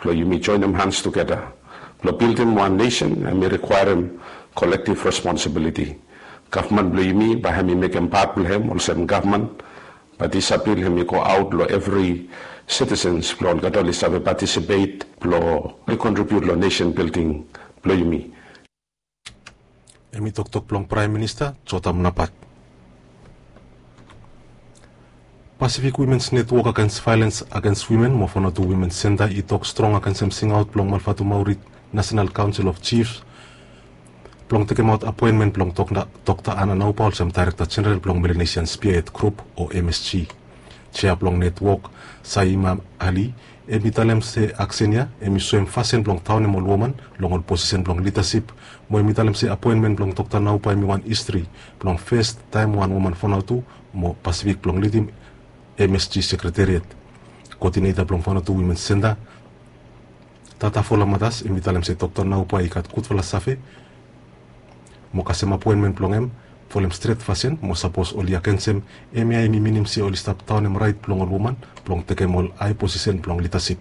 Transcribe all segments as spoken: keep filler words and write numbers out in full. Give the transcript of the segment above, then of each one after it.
Blong yumi joenem hans tugeta blong bildim wan nesen hem i rikwaerem kolektiv responsibiliti. Gavman blong yumi bae hem i mekem pat blong hem olsem gavman, bat disa bil hem i go aot long evri sitisens blong olgeta oli save patisipet blong oli kontribiut long nesen bilding blong yumi. Hem i toktok blong Praem Minista Jotam Napat. Pasifik Wimens Netwok Agens Vaelens Agens Wimen mo Vanuatu Wimens Senta i tok strong agensem singaot blong Malvatumauri Nasenal Kaonsel of Jifs blong tekemaot apoenmen blong Dokta Ana Naupa olsem Daerekta Jeneral blong Melanesian Spiaed Grup o M S G. Jea blong netwok Saima Ali hem i talem se aksen ya hem i soem fasin blong taonem ol woman long ol posisen blong lidasip, mo hem i talem se apoenmen blong Dokta Naupa hem i wan histri blong fes taem wan woman Vanuatu mo Pasifik blong lidim M S G sekretariat. Koodineta blong Vanuatu Wimens Senta Tata Fola Matas hem i talem se Dokta Naupa i gat gudfala save mo kasem apoenmen blong hem folem stret fasin mo sapos oli agensem, hemia hem i minim se oli stap taonem raet blong ol woman blong tekem ol ae posisen blong lidasip.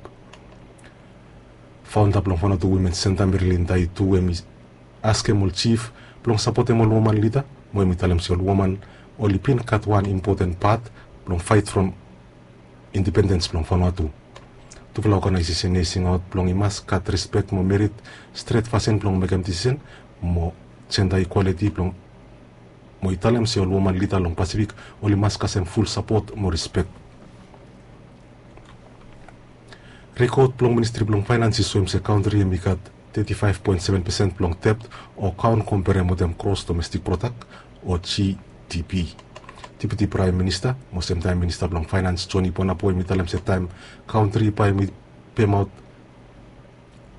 Faonda blong Vanuatu Wimens Senta Merilinda i tu hem i askem ol jif blong sapotem ol woman lida, mo hem i talem se ol woman oli bin gat wan impoten pat blong faet from indipendens blong Vanuatu. Tufala oganaesesen ya i singaot blong i mas gat rispek mo merit stret fasin blong mekem disisen mo jenda ikwaliti blong mo i talem se ol woman lida long Pasifik oli mas kasem ful sapot mo rispek. Rikot blong Ministri blong Faenans i soem se kantri hem i gat teti faef poen seven pesen blong debt o kaon komperem wetem gros domestik prodak o G D P. Dipiti Praem Minista mo semtaem Minista blong Faenans Joni Bonapo hem i talem se taem kantri bae hem i pemaot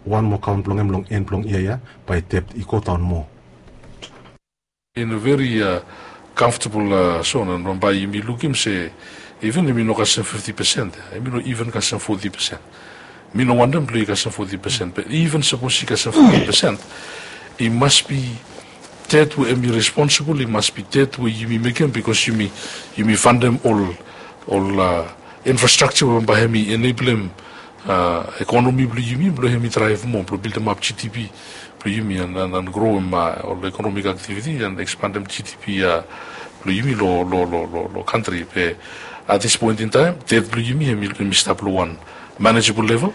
wan moa kaon blong hem long en blong yia ya bae debt i godaon moa. In a very comfortable zone, and bambae yumi lukim se even yumi no kasem fifti pesen, yumi no even kasem foti pesen. Mi no wantem blong i kasem foti pesen, be even sapos i kasem foti pesen, i mas bi debt we yumi responsibol, i mas bi debt we yumi mekem bikos yumi yumi fantem ol ol infrastrakja we bambae hem i eneblem ekonomi blong yumi blong hem i draev moa blong bildimap G D P blong yumi and groem ol ekonomik aktiviti and ekspandem G D P blong yumi long kantri. Be at this point in time debt blong yumi hem i stap long wan manejebol level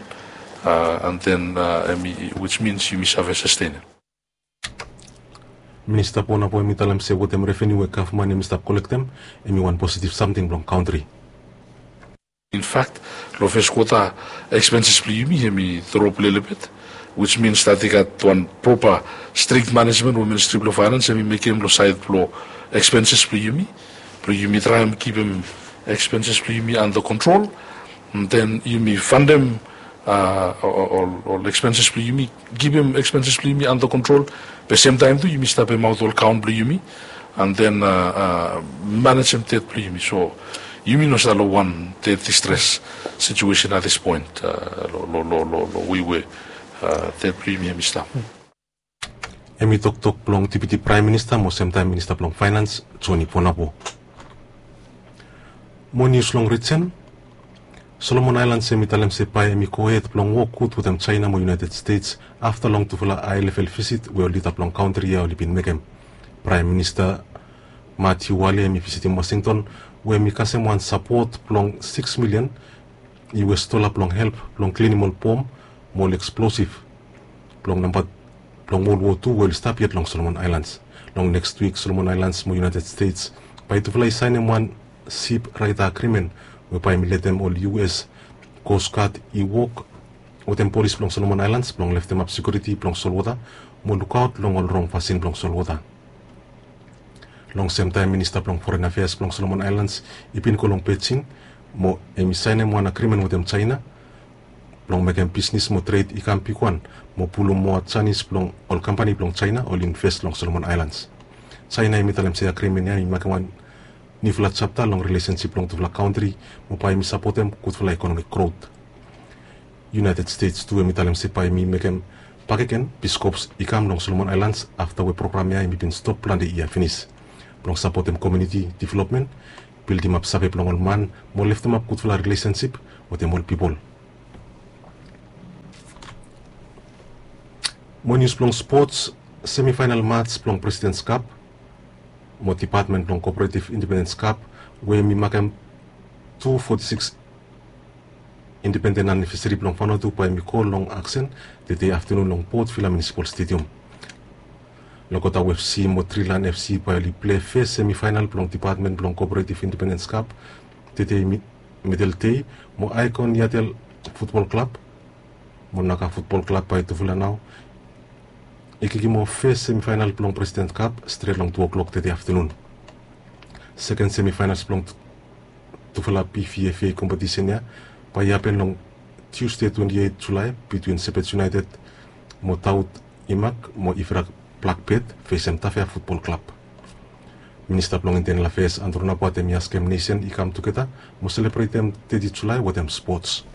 and then hem i, which means yumi save sastenem. Minista Bonapo hem i talem se wetem reveniu we gavman hem i stap kolektem hem i wan positiv samting blong kantri. In fact, long fes kwota ekspenses blong yumi hem i drop lelebet, which means that i gat wan propa strik manejmen we Ministri blong Faenans hem i mekem long saed blong ekspenses blong yumi blong yumi traem kipim ekspenses blong yumi anda kontrol. And then yumi fantem ol ekspenses blong yumi, kipim ekspenses blong yumi anda kontrol, be semtaem tu yumi stap pemaot ol kaon blong yumi and then manejem debt blong yumi. So yumi no stap long wan debt distres situesen at this point long wei we debt blong yumi hem i stap. Hem i toktok blong Dipiti Praem Minista mo semtaem Minista blong Faenans Joni Bonapo. Mo nius long rijen. Solomon Aelans hem i talem se bae hem i gohed blong wok gud wetem Jaena mo United States afta long tufala aelevel visit we ol lida blong kantri ya oli bin mekem. Praem Minista Matiu Wale hem i visitim Wasington we hem i kasem wan sapot blong sikis milian U S dola blong help blong klinim ol bom mo ol eksplosif blong namba blong Wol Wo Tu we oli stap yet long Solomon Aelans. Long neks wik Solomon Aelans mo United States bae tufala i saenem wan sip raeta agrimen we bae hem i letem ol U S Coast Guard i wok wetem polis blong Solomon Aelans blong leftemap sekiuriti blong solwota mo lukaot long ol rong fasin blong solwota. Long semtaem Minista blong Foren Afeas blong Solomon Aelans i bin go long Bejing mo hem i saenem wan agrimen wetem Jaena blong mekem bisnis mo tred i kam bigwan mo pulum moa janis blong ol kampani blong Jaena oli inves long Solomon Aelans. Jaena hem i talem se agrimen ya i makem wan niufala japta long rilesensip blong tufala kantri mo bae hem i sapotem gudfala ekonomik grot. United States tu hem i talem se bae hem i mekem bakegen Peace Corps i kam long Solomon Aelans afta we program ya hem i bin stop plante yia finis blong sapotem komuniti developmen, bildimap save blong ol man mo leftemap gudfala rilesensip wetem ol pipol. Mo nius blong spots, semifainal mats blong Presidents Cup mo Dipatmen blong Kooperativ Independens Cup we mi makem tu foti sikis independen anivesari blong Vanuatu bae mi go long aksen tede aftanun long Port Vila Munisipal Stedium. Lokotau FC mo Trilan FC bae oli plei fes semifainal blong Dipatmen blong Kooperativ Independens Cup tede midel dei, mo Aikon Yatel Futbol Klab mo Naka Futbol Klab bae tufala nao i kikim of fes semifainal blong Presidents Cup stret long tu oklok tede aftanun. Seken semifainals blong tufala PVFA kompetisen ya bae i hapen long Tiusde twenti eit Julae bitwin Sepet United mo Taut Imak mo Ifrak Blakbet fesem Tafea Futbol Klab. Minista blong Intenel Afeas Andrew Napat hem i askem nesen i kam tugeta mo selebretem teti Julae wetem spots.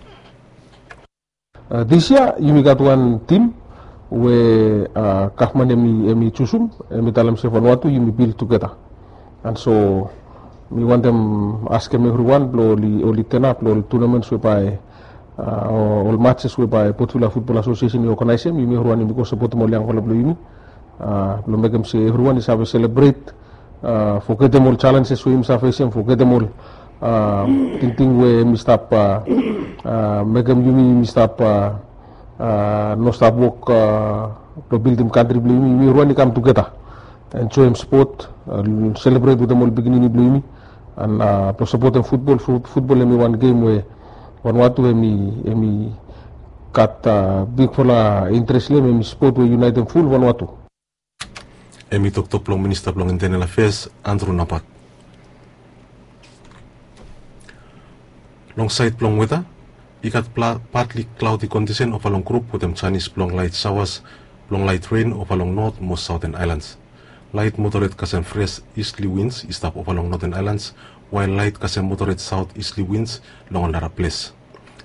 Disia yumi gat wan tim we gavman hem i jusum, hem i talem se Vanuatu yumi bil tugeta. And so mi wantem askem evriwan blong oli tenap long ol tunamens we bae ol matses we bae Port Vila Futbol Asosiesen i oganaesem, yumi evriwan yumi go sapotem ol yangfala blong yumi blong mekem se evriwan i save selebret. Fogetem ol jalenjes we yumi save fesem, fogetem ol tingting we hem i stap mekem yumi yumi stap no stap wok blong bildim kantri blong yumi. Yumi evriwan i kam tugeta, enjoem spot, selebret wetem ol pikinini blong yumi. And blong sapotem futbol, futbol hem i wan gem we Vanuatu hem i gat bigfala interes long hem, hem i spot we i yunaetem ful Vanuatu. Hem i toktok blong Minista blong Intenel Afeas Andrew Napat. Long saed blong weta, i gat patli klaodi kondisen ofa long grup wetem janis blong laet saoas blong laet ren ofa long not mo saoten aelans. Laet moderet kasem fres isli wins i stap ofa long noten aelans, wael laet kasem moderet saot isli wins long ol nara ples.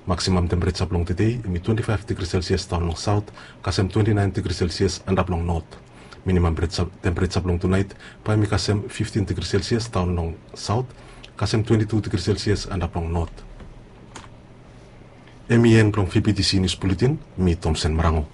Maksimam tempereja blong tede hem i twenti faef digri selsias daon long saot kasem twenti naen digri selsias antap long not. Minimam tempereja blong tunaet bae hem i kasem fiftin digri selsias daon long saot kasem twenti tu digri selsias antap long not. Hem i en blong VBTC nius buletin. Mi Tomsen Marango.